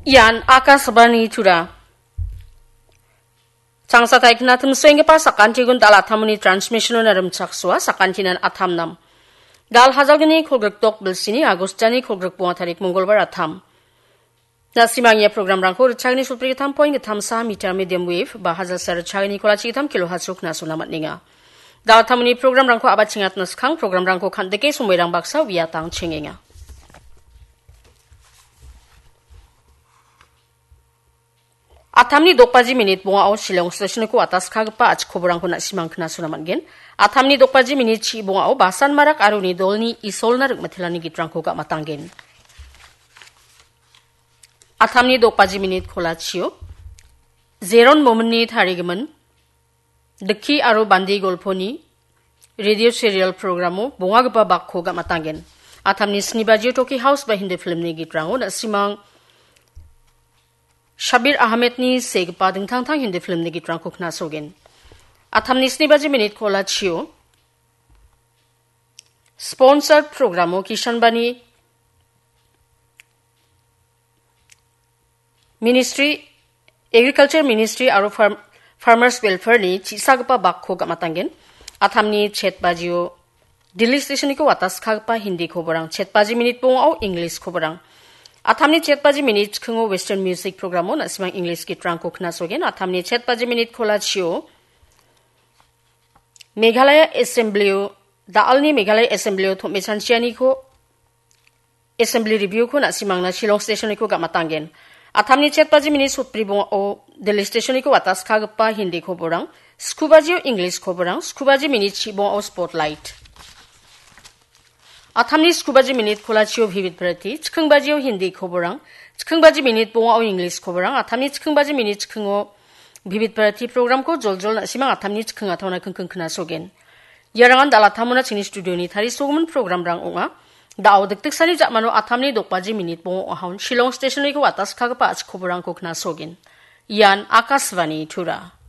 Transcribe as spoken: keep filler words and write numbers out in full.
Ian Akashvani Tura. Changsa taikna timsoenggipa sakantikon dal atamni transmission-ona rimchaksoa, sakantinan atam nam. Dal hajalgni kolgrikdok bilsini Agostani kolgrikbonga tarik Mongolbar atam. Na·simang ia programrangko ritchagni sotbrigittam point gittamsa meter medium wave ba hajalsa ritchagni kolachigitam kilohertz-o knasona man·enga. Dal atamni programrangko abatchengatna skang programrangko kandike somoirang baksa uiatang chengenga. Atamni dokbaji minit bongao Shillong stationko ataskagipa achikoborangko na·simang knasona man·gen. Atamni dokbaji minit chi bongao Basan Marak aro uni dolni Isolna ring·mitelani gitrangko gamatanggen. Atamni dokbaji minit kolachio Zeron Mominni tarigimin Dikki aro Bandi Golponi radio serial programo bongagipa bakko gamatanggen. Atamni sni bajio Toki House ba Hindi filmni gitrango na·simang Shabir Ahmedni segipa dingtang-tang Hindi filmni gitrangko knasogen. Atamni sni baji minit kolachio sponsored programo Kishan Bani Ministry, Agriculture Ministry aro Farm-, Farmers Welfare-ni chisagipa bakko gamatanggen. Atamni chet bajio Delhi stationiko wataskagipa Hindi koborang, chet baji minit bongao English koborang. Atamni chet baji minit chikingo Western Music programo na·simang English gitrangko knasogen. Atamni chet baji minit kolachio Meghalaya Assemblyo, da·alni Meghalaya Assemblyo tom·e chanchianiko Assembly Review-ko na·simangna Shillong stationiko gamatanggen. Atamni chet baji minit sotbri bongao Delhi stationiko wataskagipa Hindi koborang, skubajio English koborang, skubaji minit chibongao Spotlight. Atamni skubaji minit kolachio Vivid Bharati, chikingbajio Hindi koborang, chikingbaji minit bongao English koborang, atamni chikingbaji minit chikingo Vivid Bharati programko joljol na·simang atamni chiking ataona kingking knasogen. Iarangan dal atamona chingni studioni tarisogimin programrang ong·a. Da·o dikdiksani ja·mano atamni dokbaji minit bongo ahon Shillong stationiko wataskagipa achikoborangko knasogen. Ian Akashvani Tura.